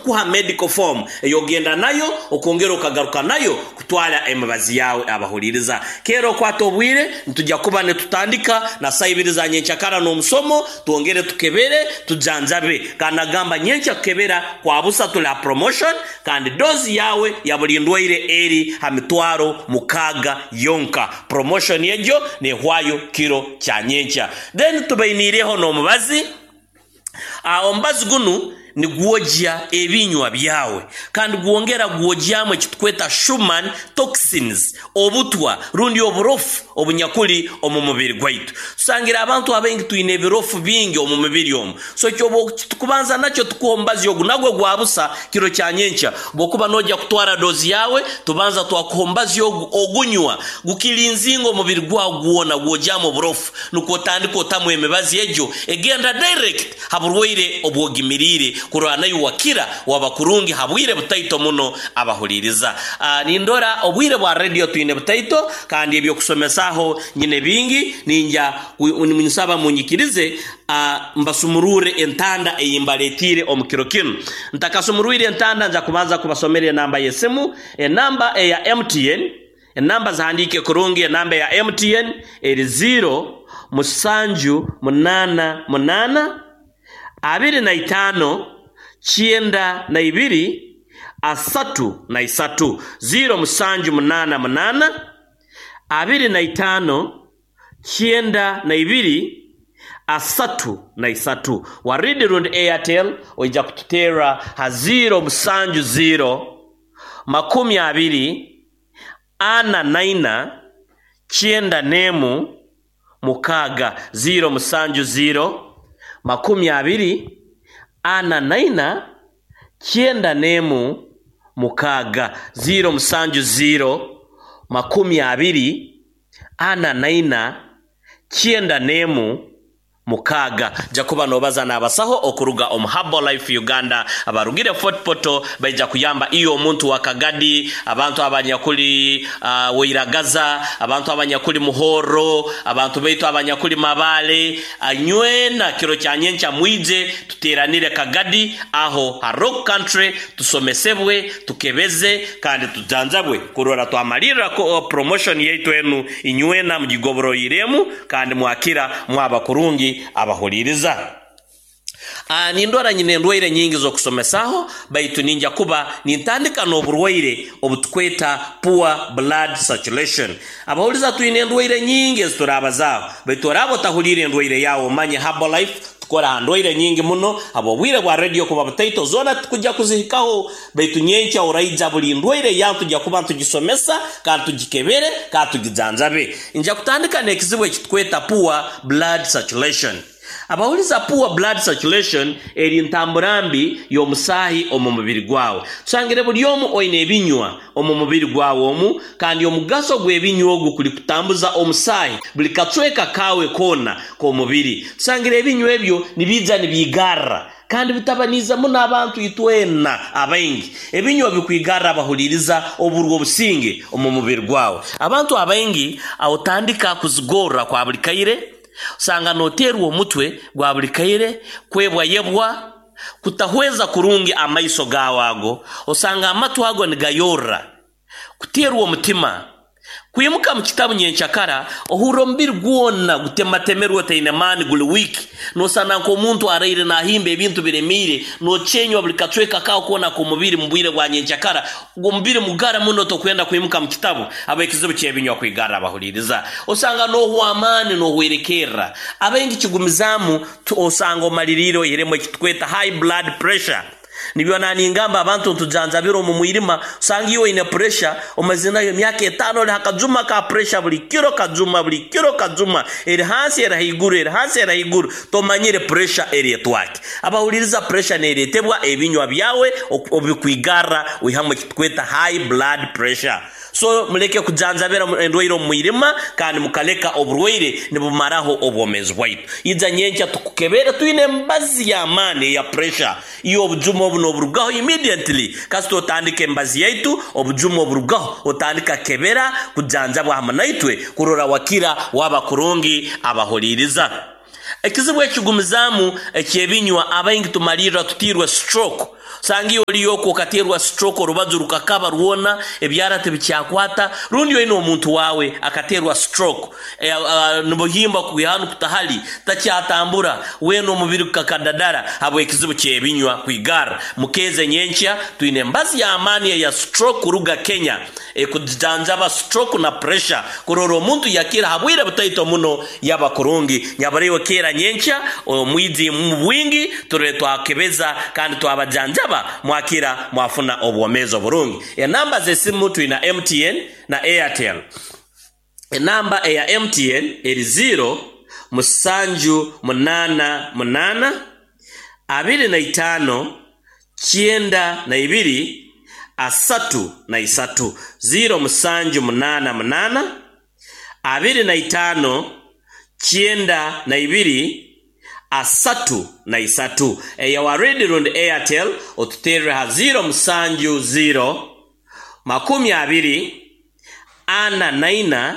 Kukuha medical form ey'ogenda nayo okongera okagaruka nayo kutwara emibazi yawe. Abahuliriza, kera okwata obwire, nitujja kuba nitutandika na saa 2 za nyenkyakara n'omusomo, twongere tukebere, tujanjabe. Kandi nagamba nyenkya kukebera kwa busa, tuli ha promotion, kandi dozi yawe ya buli ndwaire eri ha 60,000 yonka. Promotion egyo nehwayo kiro kya nyenkya. Then tubainiireho n'omubazi. Omubazi gunu nigwogya ebinywa byawe kandi gwongera gwogyamu ekitukweta Schumann toxins, obutwa rundi oburofu obunyakuli omu mubiri gwaitu. Tusangire abantu abaingi twine ebirofu bingi omu mubiri omu. So ekyoba tukubanza nakyo, tukuha omubazi ogu, nagwo gwa busa kiro kya nyenkya. Bwokuba nojya kutwara dozi yawe, tubanza twakuha omubazi ogu, ogunywa gukilinzinga omubiri gwawe gwona, gwogyamu oburofu, nukwo otandika otamu emibazi egyo egenda direct ha burwaire obwogimiriire kurora naiwe wakira waba kurungi ha bwire butaito muno. Abahuliriza, nindora obwire bwa radio twine butaito, kandi ebyokusomesaho nyine bingi. Ninja nsaba munyikirize mbasumurure entanda eyimbaletiire omu kiro kinu. Ntakasumurwire entanda, nja kubanza kubasomera enamba y'esimu, enamba eya MTN. Enamba zihandiike kurungi. Enamba eya MTN eri 0 7 8 8 25 92 33. 0 7 8 8 25 92 33. Waridi rundi Airtel, oija kututeera ha 0 7 0 20 44 91 6. 0 7 0 20 44 91 6. 0 7 0 20 44 91 6. Jakuba nobaza n'abasaho okuruga omu Herbalife Uganda abarugire Fort Portal. Baija kuyamba iyo omuntu wa Kagadi, abantu abanyakuli Wairagaza, abantu abanyakuli Muhoro, abantu baitu abanyakuli Mabale nywena. Kiro kya nyenkya mwije tuteranire Kagadi aho ha Rock Country, tusomesebwe, tukebeze kandi tujanjabwe kurora twamalirra promotion yaitu enu. Inywena mugigoboroiremu kandi mwakira mwaba kurungi. Abahuliriza, nindora nyine endwaire nyingi z'okusomesaho, baitu ninja kuba nintandika n'oburwaire obutukweta poor blood circulation. Abahuliza, twine endwaire nyingi eziturabazaaho, baitu oraaba otahuliire endwaire yawe, omanye Herbalife tukora ha ndwaire nyingi muno. Habw'obwire bwa radio kuba butaito, zoona tukujja kuzihikaho, baitu nyenkya oraija buli ndwaire yawe tujja kuba ntugisomesa kandi tugikebere kandi tugijanjabe. Nja kutandika n'ekizibu ekitukweta poor blood circulation. Abawuliza, poor blood circulation eri ntambura mbi y'omusaahi omu mubiri gwawe. Tusangire buli omu oine ebinywa omu mubiri gwawe omu, kandi omugaso gw'ebinywa ogu kuli kutambuza omusaahi buli kacweka kawe koona k'omubiri. Tusangire ebinywa ebyo nibiija nibiigarra kandi bitabaniize muno abantu itwena abaingi. Ebinywa bikwigarra, abahuliriza, oburwa obusinge omu mubiri gwawe. Abantu abaingi otandika kuzigorra kwa buli kaire, osanga noteerwa omutwe gwa buli kaire, kwebwayebwa, kutahweza kurungi amaiso gawe ago, osanga amatu ago nigayorra, kuteerwa omutima, kwimuka mu kitabu nyenkyakara ohurra omubiri gwona gutematemerwe, otaine maani, guli weak, nosana nk'omuntu araire nahimba ebintu biremiire, nokyenywa buli kacweka kawe koona k'omubiri. Mu bwire bwa nyenkyakara omubiri mugara muno, tokwenda kwimuka mu kitabu habw'ekizibu ky'ebinywa kwigarra. Abahuliriza, osanga nohwa amaani, nohwerekerra. Abaingi kigumizaamu, osanga omaliriire oihiremu ekitukweta high blood pressure. Nibyo naningamba abantu ntujanjabira omu mwirima. Osanga iwe oine pressure omazire nayo emyaka 5, oli hakajuma ka pressure buli kiro, kajuma buli kiro, kajuma eri hansi eri haiguru, eri hansi eri haiguru, tomanyire pressure eretwaki. Abahuliriza, pressure neretebwa ebinywa byawe obikwigarra, oihamu ekitukweta high blood pressure. So muleke kujanjabira endwaire omu mwirima kandi mukaleka oburwaire nibumaraho obwomeezi bwaitu. Ija nyenkya tukukebere, twine emibazi y'amaani eya pressure. Iyo obujuma obu noburugaho immediately. Kasita otandika emibazi yaitu, obujuma oburugaho, otandika kebera, kujanjabwa hamu naitwe kurora wakira waba kurungi. Abahuliriza, ekizibu ekigumizaamu ekyebinywa, abaingi tumalirra tutiirwe stroke. Osanga iwe oliyo okwo okateerwa stroke, orubaju rukakaba rwona, ebyara tibikyakwata, rundi oine omuntu waawe akateerwa stroke, nibuhimba kwiha hanu kuta hali, takyatambura, weena omubiri gukakadadara habw'ekizibu ky'ebinywa kwigarra. Mukeeze nyenkya, twine embazi y'amaani eya stroke kuruga Kenya ekujanjaba stroke na pressure kurora omuntu yakira ha bwire butaito muno yaba kurungi. Nyaburaiwe keera nyenkya omwije mu bwingi turole twakebeza kandi twabajanjaba mwakira mwafuna obwomeezi oburungi. Enamba z'esimu twina MTN na Airtel. Enamba eya MTN eri 0 musanju munaana munaana 25 92 33 0 musanju munaana munaana 25 92 33. Eya Waridi rundi Airtel otuterre ha 0 musanju 0 20 44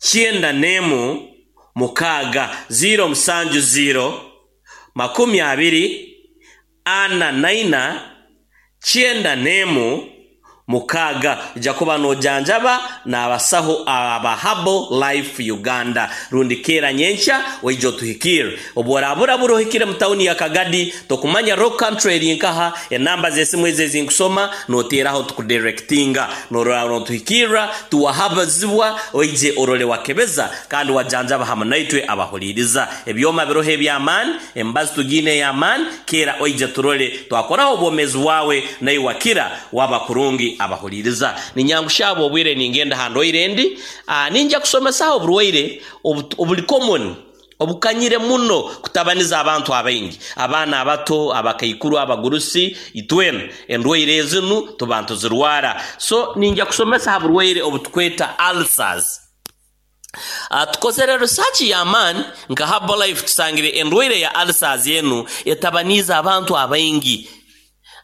91 6 0 musanju 0 20 44 91 6. Ojja kuba nojanjaba n'abasaho aba Herbal Life Uganda. Rundi keera nyenkya oije otuhikire. Obu oraburabura ohikire mu tawuni ya Kagadi, tokumanya Rock Country eri nkaha, enamba z'esimu ezo ezinkusoma noteeraho tukudirectinga. Norora notuhikirra, tuwahabazibwa, oije orole wakebeza kandi wajanjaba hamu naitwe abahuliriza. Ebyoma biroho eby'amaani, emibazi tugiine ey'amaani, keera oije turole twakoraho obwomeezi bwawe naiwe wakira waba kurungi abahuliriza. Ninyangushaba obwire ningenda ha ndwaire endi, ninja kusomesaho oburwaire obuli common, obukanyire muno kutabaniza abantu abaingi, abaana abato, abakaikuru, abagurusi, itwena endwaire ezinu tuba ntuzirwara. So ninja kusomesa ha burwaire obutukweta ulcers. Tukozere research y'amaani nka Herbal Life, tusangire endwaire ya ulcers enu etabaniize abantu abaingi.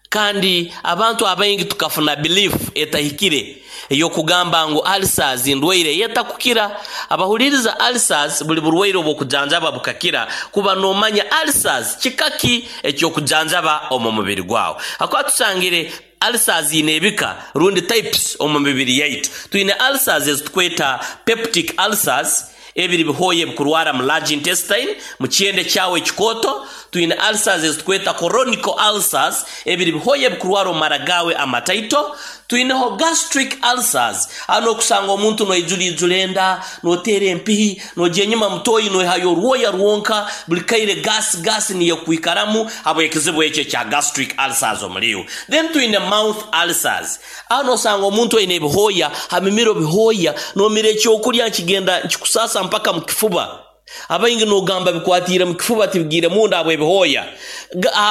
Kandi abantu abaingi tukafuna belief etahikire ey'okugamba ngu ulcers ndwaire eyetakukira. Abahuliriza, ulcers buli burwaire obw'okujanjaba bukakira, kuba nomanya ulcers kikaki eky'okujanjaba omu mubiri gwawe. Hakuba tusangire ulcers ine ebika rundi types omu mibiri yaitu. Twine ulcers ezitukweta peptic ulcers, ebiri bihooya ebikurwara mu large intestine, mu kyende kyawe ekikooto. Twine ulcers ezitukweta chronic ulcers, ebiri bihooya ebikurwara omu mara gawe amataito. Twineho gastric ulcers, hano okusanga omuntu noijura enda, noteera empihi, nogya enyuma mutoyi noihayo orwoya rwonka, buli kaire gas gas niyo kwikaramu habw'ekizibu ekyo ekya gastric ulcers omuliwe. Then twine mouth ulcers, hano osanga omuntu aine ebihooya ha mimiro, bihooya nomira ekyokurya nkigenda nkikusasa mpaka mu kifuba. Abaingi nogamba bikwatiire mu kifuba tibigiire munda habw'ebihooya.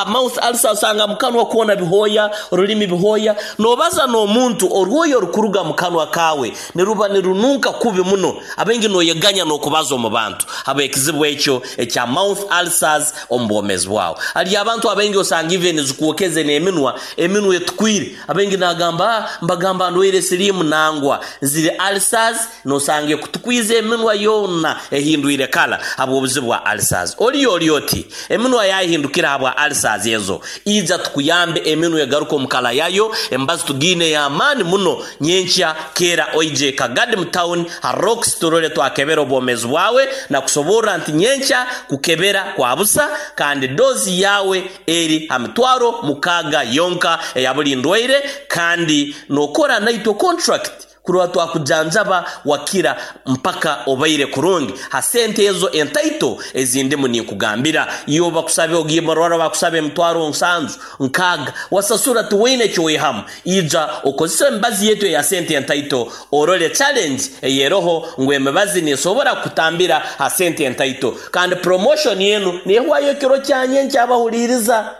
Mouth ulcer osanga mu kanwa kwona bihooya, orulimi bihooya, nobaza n'omuntu orwoya orukuruga mu kanwa kawe niruba nirununka kubi muno. Abaingi noyeganya n'okubaza omu bantu habw'ekizibu ekyo ekya mouth ulcers omu bwomeezi bwawe. Hali abantu abaingi osanga even zikuwokeze n'eminwa, eminwa etukwire. Abaingi nagamba, mbagamba ndwaire siriimu, nangwa ziri ulcers, nosanga ekutukwize eminwa yoona ehindwire kala habw'obuzibu bwa ulcers. Oliyo oli oti eminwa yahindukira habwa ulcers ezo, ija tukuyambe eminwa egaruka omu kala yayo. Emibazi tugiine y'amaani muno. Nyenkya keera oije Kagadi mu town ha Rocks turole twakebera obwomeezi bwawe na kusoborra nti nyenkya kukebera kwa busa kandi dozi yawe eri ha 60,000 yonka eya buli ndwaire, kandi nokora naitwe contract kurora twakujanjaba wakira mpaka obaire kurungi ha sente ezo entaito ezindimu ninkugambira. Iyo bakusabe ogiye marwara bakusabe 70,000 6, wasasura tiwaine ekyowehamu. Ija okozesa emibazi yetu eya sente entaito orole challenge eyeroho ngu emibazi nesobora kutambira ha sente entaito. Kandi promotion yenu nehwayo ekiro kyanyenkya. Abahuliriza,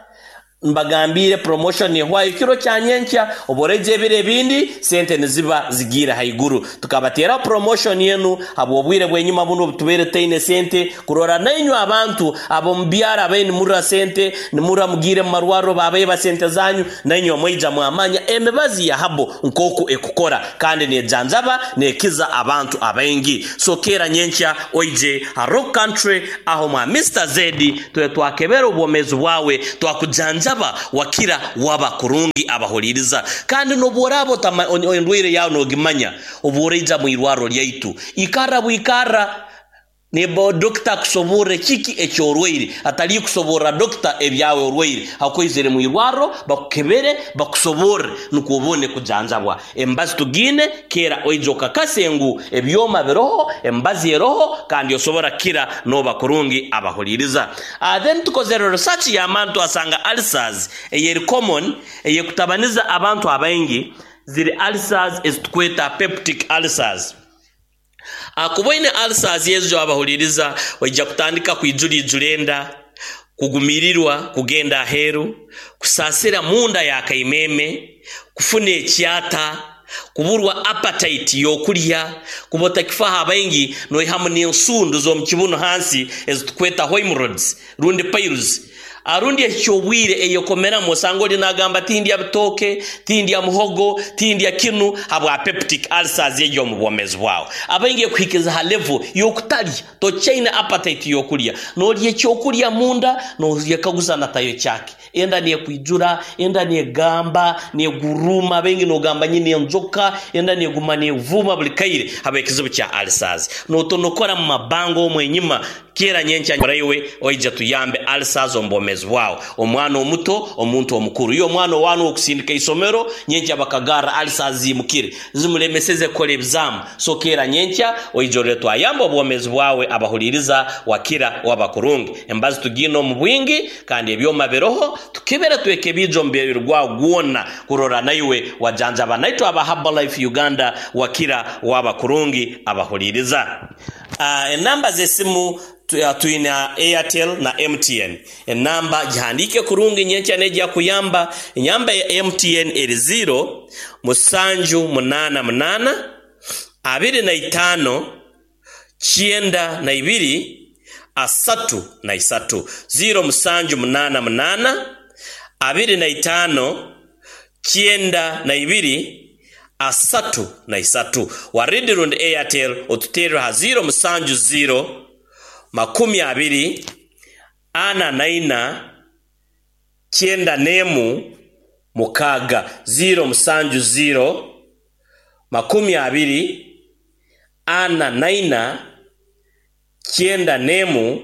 mbagambire promotion nehwayo ekiro kyanyenkya. Oboreje ebiro ebindi sente niziba zigiire haiguru. Tukabateraho promotion yenu habw'obwire bw'enyuma buno obutubaire taine sente, kurora nainywe abantu ab'omu byaro abaine nimurra sente nimurra mugiire mu marwariro babaeba sente zanyu, nainywe mwaija mwamanya emibazi ya habo nk'oku ekukora kandi nejanjaba nekiza abantu abaingi. So keera nyenkya oije ha Rock Country aho mwa Mr Zedi tuwe twakebera obwomeezi bwawe twakujanjaba. Bakujanjaba, wakira, waba kurungi. Abahuliriza, kandi n'obworaaba endwaire yawe n'ogimanya, obu oraija mu irwarro lyaitu, ikarra bwikarra nebo dokita akusoborre kiki ekyorwaire, atali kusoborra dokita ebyawe orwaire. Hakuizire mu irwarro, bakukebere, bakusoborre, nukwo obone kujanjabwa. Embazi tugiine, kera oija okakase ngu ebyoma biroho, embazi eroho, kandi osobora kukira noba kurungi. Abahuliriza, then tukozere research y'amaani, twasanga ulcers eyeri common eyekutabaniza abantu abaingi ziri ulcers ezitukweta peptic ulcers. Kuba oine ulcers ezo, abahuliriza, oija kutandika kwijura ijura enda, kugumirirwa kugenda aheeru, kusaasira munda y'akaimeme, kufuna ekyata, kuburwa appetite y'okulya, kuba otakifaho. Abaingi noihamu n'ensundu z'omu kibuno hansi ezitukweta hemorrhoids rundi piles, arundi ekyobwire eyekomeramu. Osanga oli nagamba, "Tindya bitooke, tindya muhogo, tindya kinu," habwa peptic ulcers egyo omu bwomezi bwawe. Abaingi ekuhikiza ha level y'okutalya, tokyaine appetite y'okulya, n'olya ekyokulya munda noyekaguza natayo kyake, enda nekwijura, enda negamba, neguruma. Abaingi nogamba nyine enjoka, enda neguma nevuma buli kaire haba ekizibu kya ulcers, notonokora mu mabanga omwo enyima. Kera nyenkya iwe oija tuyambe ulcers omu bwomezi bwawe, omwana omuto, omuntu omukuru. Iyo omwana owana okusindika isomero, nyenkya bakagarra ulcers zimukire, zimulemeseze kukora ebizamu. So kera nyenkya oija orole twayamba obwomezi bwawe. Abahuliriza, wakira, waba kurungi. Embazi tugiine omu bwingi, kandi ebyoma biroho, tukebere, twekebija omubiri gwawe gwona kurora naiwe wajanjaba naitwe aba Herbalife Uganda, wakira, waba kurungi. Abahuliriza, enamba z'esimu, twina Airtel na MTN. Enamba gihandike kurungi, nyenkya nejja kuyamba. Enamba ya MTN eri 0 7 8 8 25 92 33. 0 7 8 8 25 92 33. Waridi rundi Airtel, otuterre ha 0 7 0 20 44 91 6. 0 7 0 20 44 91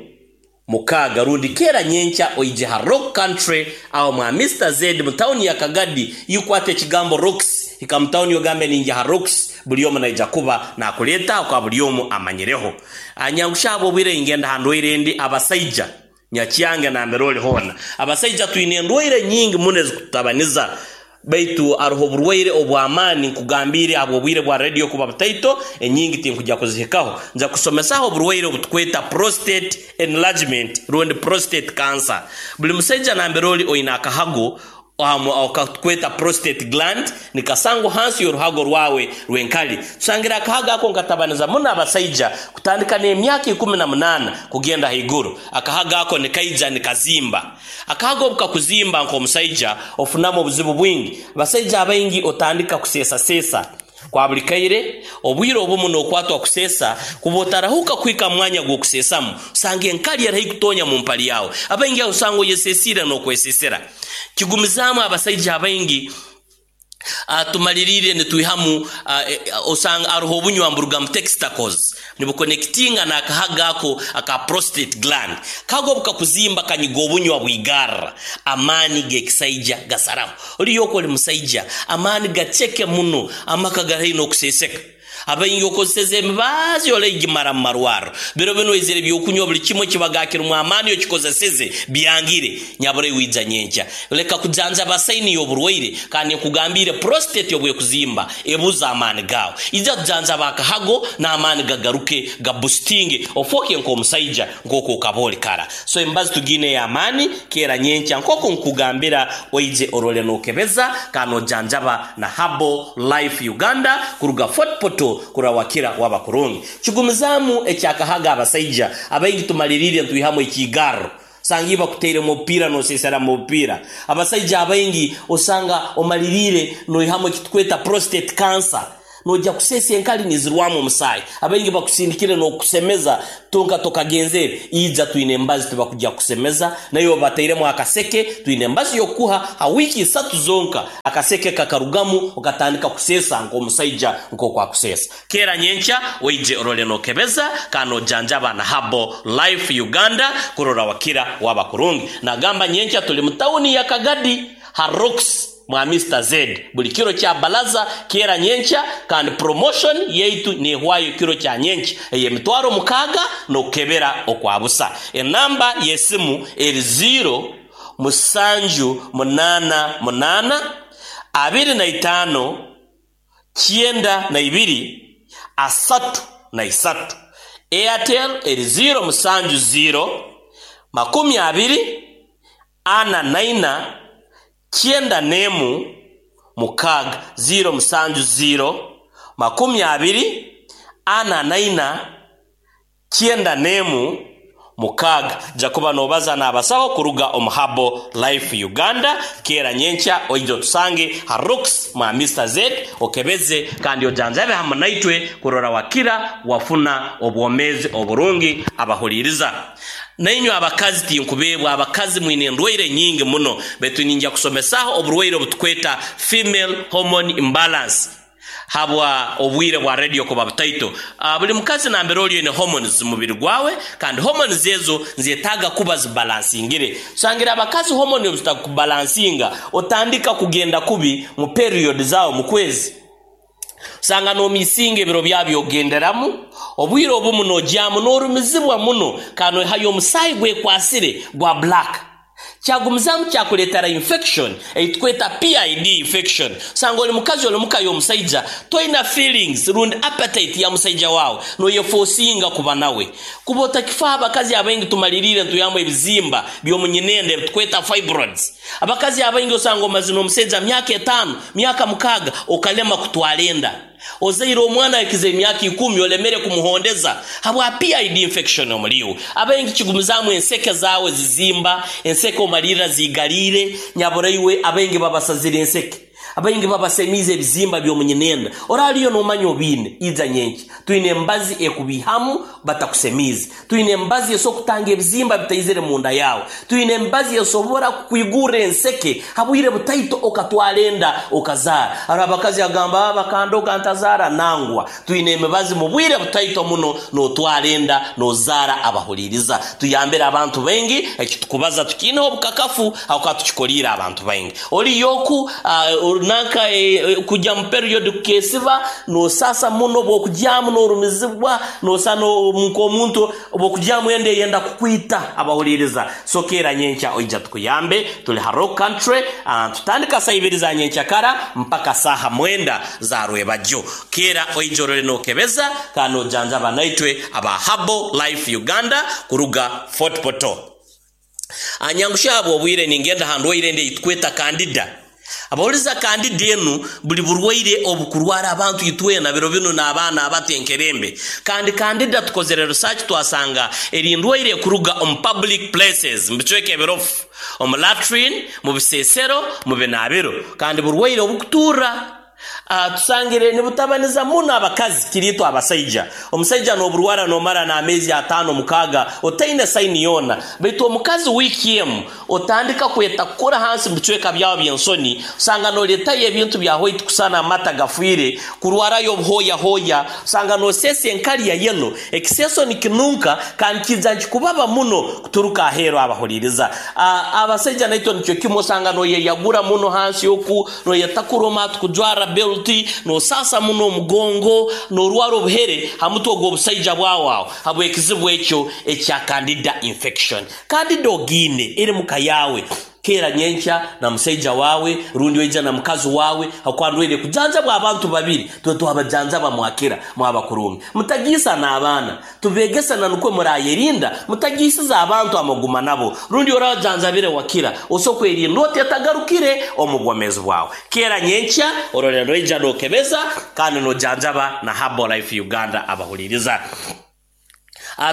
6. Rundi kera nyenkya oije ha Rock Country aho mwa Mr Z mu tawuni ya Kagadi. Yukwata ekigambo Rocks, ika mu tawuni, ogambe ninja ha Rocks, buli omu naija kuba nakuleta kwa buli omu amanyireho. Anyangushabo obwire, ingenda ha ndwaire endi. Abasaija nyakyange nambere oli hoona, abasaija twine endwaire nyingi muno ezikututabaniza, baitu aroho oburwaire obw'amaani. Nkugambire, habw'obwire bwa radio kuba butaito, enyingi tinkujja kuzihikaho. Nja kusomesaho oburwaire obutukweta prostate enlargement rundi prostate cancer. Buli musaija nambere oli oine akahago okatukweta prostate gland, nikasangwa hansi y'oruhago rwawe rw'enkali. Tusangira akahago ako nkatabaniza muno abasaija kutandika n'emyaka 18 kugenda haiguru. Akahago ako nikaija nikazimba. Akahago obu kakuzimba nk'omusaija, ofunamu obuzibu bwingi. Abasaija abaingi otandika kuseesasesa kwa buli kaire. Obwire obumu n'okwatwa kuseesa, kuba otarahuka kuhika mu mwanya gw'okuseesamu, osanga enkali eri kutonya mu mpali yawe. Abaingi aho osanga oyesesiire n'okwesesera kigumizaamu. Abasaija abaingi tumaliriire nitwihamu, osanga aroho obunywa mburuga mu testicles, nibuconnectinga n'akahaga ako aka prostate gland. Kago bukakuzimba, kanyiga obunywa bwigarra, amaani g'ekisaija gasaraho. Oliyo oli musaija, amaani gaceke muno, amaka gari n'okuseseka. Abaingi okozeseza emibazi oleigimara mu marwarro. Biro bino oizire ebyokunywa, buli kimwe kibaga kirimu amaani, okikozeseze byangire. Nyabura wija nyenkya, leka kujanjaba sign y'oburwaire. Kandi nkugambire, prostate obwekuzimba ebuza amaani gawe. Ija kujanjaba akahago n'amaani gagaruke, gaboostinge, ofoke nk'omusaija nk'oku okaba oli kara. So embazi tugine y'amaani. Kera nyenkya nk'oku nkugambira, oije orole n'okebeza kandi ojanjaba na Herbal Life Uganda kuruga Fort Portal, kurawakira, waba kurungi. Kigumizaamu ekyakahaga, abasaija abaingi tumaliriire ntwihamu ekigarro, sanga bakuteire mu bupiira nosesera mu bupiira. Abasaija abaingi osanga omaliriire noihamu ekitukweta prostate cancer. Noija kuseesa enkali nizirwamu omusaayi. Abaingi bakusindikire n'okukusemeza tonka tokagenzere. Ija twine embazi tibakujja kukusemeza, naiwe batairemu akaseke, twine embazi y'okukuha ha wiiki isatu zonka, akaseke kakarugamu okatandika kuseesa nk'omusaija nk'oku akuseesa. Keera nyenkya oije orole nokebeza kandi nojanjaba na Herbal Life Uganda kurora wakira waba kurungi. Nagamba nyenkya tuli mu tawuni ya Kagadi ha Rocks mwa Mister Zed buli kiro kya balaza keera nyenkya kandi promotion yaitu nehwayo kiro kya nyenkya ey'emitwaro 6 nokukebera okwa busa. Enamba y'esimu eri ziiro musanju munaana munaana 25 92 33. Airtel eri ziiro musanju ziiro 20 44 91 6 ziiro musanju ziiro 20 44 91 6. Jakuba nobaza n'abasaho kuruga omu Herbal Life Uganda. Keera nyenkya oije otusange ha Rocks mwa Mister Z okebeze kandi ojanjabe hamu naitwe kurora wakira wafuna obwomeezi oburungi. Abahuliiriza nainywe abakazi, tinkubeebwa abakazi mwine endwaire nyingi muno, baitu ninja kusomesaho oburwaire obutukweta female hormone imbalance habwa obwire bwa radio kuba butaito. Buli mukazi nambere oli oine hormones mubiri gwawe, kandi hormones ezo nzetaaga kuba zibalansingire. Tusangire abakazi hormone obu zitakubalansinga, otandika kugenda kubi mu period zawe mu kwezi. Osanga nomisinga ebiro byawe byogenderamu, obwire obumu nogyamu norumizibwa muno, kandi noihayo omusaayi gwekwasire gwa black. Kyagumizamu kyakuleetera infection eitukweta PID infection. Osanga oli mukazi oli muka y'omusaija, toina feelings rundi appetite ya musaija wawe, noyefosinga kuba nawe. Kuba otakifaho abakazi abaingi tumaliriire ntuyamu ebizimba by'omunyinenda ebitukweta fibroids. Abakazi abaingi osanga omazire n'omusaija myaka 5, myaka 6 okalema kutwara enda. Ozaire omwana ahikize emyaka 10 olemere kumuhondeza habwa PID infection omuli iwe. Abaingi kigumizaamu enseke zawe zizimba, enseke omalirra zigaliire, nyaburaiwe abaingi babasazire enseke. Abaingi babasemiize ebizimba by'omunyinenda. Oraliyo nomanya obiine, ija nyenkya. Twine embazi ekubihamu batakusemiize. Twine embazi esobora kutanga ebizimba bitaizire munda yawe. Twine embazi esobora kukwigurra enseke habwire butaito okatwara enda okazaara. Hariho abakazi agamba bakandoga ntazaara nangwa. Twine emibazi mu bwire butaito muno notwara enda nozaara. Abahuliiriza tuyambire abantu baingi, ekitukubaza tukiineho obukakafu habwokuba tukikoliire abantu baingi. Oliyoku nanka kujya mu period kukesiba nosasa muno, bwokugyamu norumizibwa, nosa nk'omuntu bwokugyamu enda eyenda kukwita. Abahuliiriza so keera nyenkya oija tukuyambe. Tuli ha Rock Country, tutandika saa 2 za nyenkyakara mpaka saaha 9 za rwebagyo. Keera oija orole nokebeza kandi nojanjaba naitwe aba Herbal Life Uganda kuruga Fort Portal. Anyangushya habwa obwire ningenda ha ndwaire endi eyitukweta Candida. Abawuliza Candida enu buli burwaire obukurwara abantu itwena biro binu n'abaana abato enkerembe. Kandi Candida tukozere research twasanga eri ndwaire ekuruga omu public places, mu bicweka ebirofu, omu latrine, mu bisesero, mu binaabiro. Kandi burwaire obukuturra. Tusangire nibutabaniza muno abakazi kiriitwe abasaija. Omusaija n'oburwara nomara n'ameezi 5 6 otaine saini yoona. Baitu omukazi wiiki emu otandika kwetakura hansi mu bicweka byawe by'ensoni, osanga noleetayo ebintu bya white kusana amata gafiire, kurwarayo obuhooyahooya, osanga noseesa enkali ya yellow, ekiseeso nikinunka kandi kiija nikikubaba muno kuturuka aheeru. Abahuliiriza abasaija naitwe nikyo kimu, osanga noyeyagura muno hansi oku, noyetakura omatu kujwara belti, nosasa muno omugongo, norwara obuhere ha mutwe ogw'obusaija bwawe aho habw'ekizibu ekyo ekya Candida infection. Candida ogiine eri muka yawe, keera nyenkya na musaija wawe rundi oija na mukazi wawe, habwokuba ndwaire kujanjabwa abantu babiri, twe twabajanjaba mwakira mwaba kurungi. Mutagiisa n'abaana, tubegesa na nukwo murayerinda, mutagiisiza abantu amaguma nabo. Rundi orajanjabire wakira, oso kwerinda otetagarukire omu bwomeezi bwawe. Keera nyenkya orole noija nokebeza kandi nojanjaba na Herbal Life Uganda. Abahuliiriza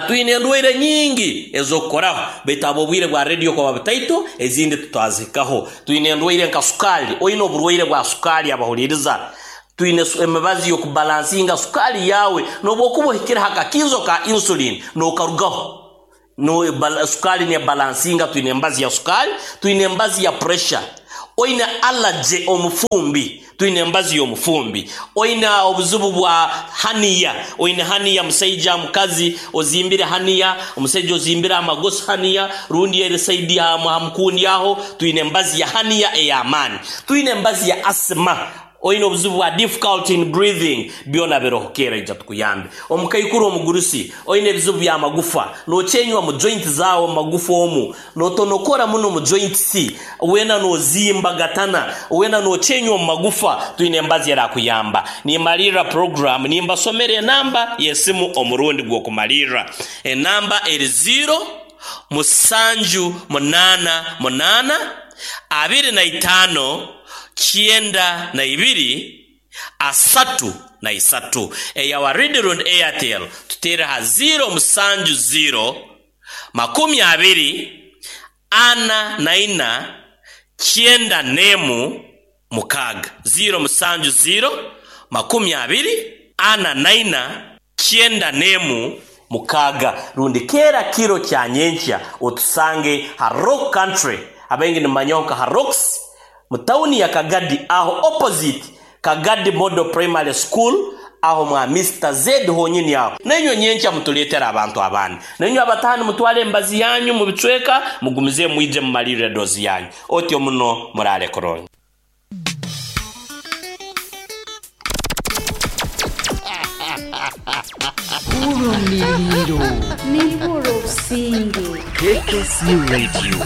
twine endwaire nyingi ez'okukoraho, baitu habw'obwire bwa radio kuba butaito ezindi tutwazihikaho. Twine endwaire nka sukaali, oine oburwaire bwa sukaali abahuliiriza. Twine emibazi y'okubalansinga sukaali yawe, n'obwokuba ohikire ha kakinzo ka insulin n'okarugaho. No sukaali nebalansinga, twine embazi ya sukaali, twine embazi ya pressure. Oine allergy omufumbi, twine embazi y'omufumbi. Oine obuzibu bwa hernia, oine hernia musaija mukazi ozimbire hernia, omusaija ozimbire amagosi hernia, rundi eri saidi ha mukundi aho, twine embazi ya hernia ey'amaani. Twine embazi ya asthma, oine obuzibu bwa difficulty in breathing, byona biroho keera ija tukuyambe. Omukaikuru omugurusi, oine ebizibu by'amagufa, nokyenywa mu joint zaawe mu magufa omu, notonokora muno mu joints, wena nozimba gatana, wena nokyenywa mu magufa, twine embazi erakuyamba. Nimalirra program, nimbasomera enamba y'esimu omurundi gw'okumalirra. Enamba eri 0 musanju munaana munaana 25 92 33. Eya Waridi rundi Airtel tuteere ha 0 musanju 0 20 44 91 6. 0 musanju 0 20 44 91 6. Rundi keera kiro kya nyenkya otusange ha Rock Country, abaingi nimumanyaho nka ha Rocks, mu tawuni ya Kagadi, aho opposite Kagadi Model Primary School, aho mwa Mister Z honyini aho. Nainywe nyenkya mutuleetere abantu abandi. Nainywe abatahani mutwale embazi yanyu mubicweka, mugumize mwije mumalirre dozi yanyu. Otyo muno muraale kurungi. Urumiliro. Nibura obusinge. KKC Radio.